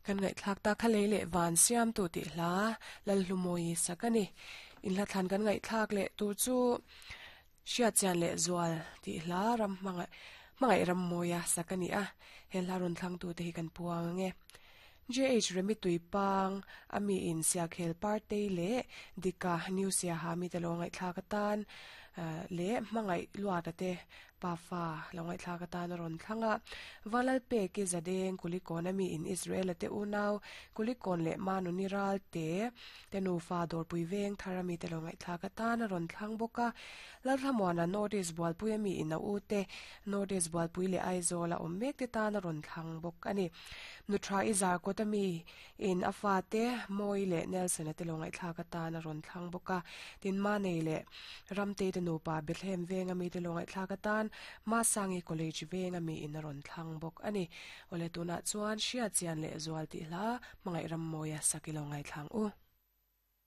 Kan ngaihthlak ta kha lei leh van siamtu tih hla Lalhlumawi sak a ni. Inhla thlan kan ngaihthlak leh tur chu Hriatchian leh Zual tih hla ram hmangaih hmangaih ram mawia sak a ni a, he hla rawn thlangtute hi kan puang ang e. JH Remi Tuipang a mi in Siakhel Partei leh Dika New Siaha mite lo ngaihthlak atan leh hmangaih luata te Pafa lo ngaihthlak atan a rawn thlang a. Valalpeki Zadeng Kulikawn a mi in Israel-a te unau Kulikawn leh Manuni Ralte te nufa Dawrpui veng thar a mite lo ngaihthlak atan a rawn thlang bawk a. Lalthlamuana North East Bualpui a mi in a u te North East Bualpui leh Aizawl a awm mek te tan a rawn thlang bawk a ni. Nuthra i Zarkawt a mi in a fate Mawi leh Nelson-a te lo ngaihthlak atan a rawn thlang bawk a. Tin, Manei leh Ramtei te nupa Bethlehem venga mite lo ngaihthlak atan Masangi College venga miin a rawn thlang bawk a ni. Awle tunah chuan Hriatchian leh Zual tih hla Hmangaih Rammawia sak i lo ngaithlang u.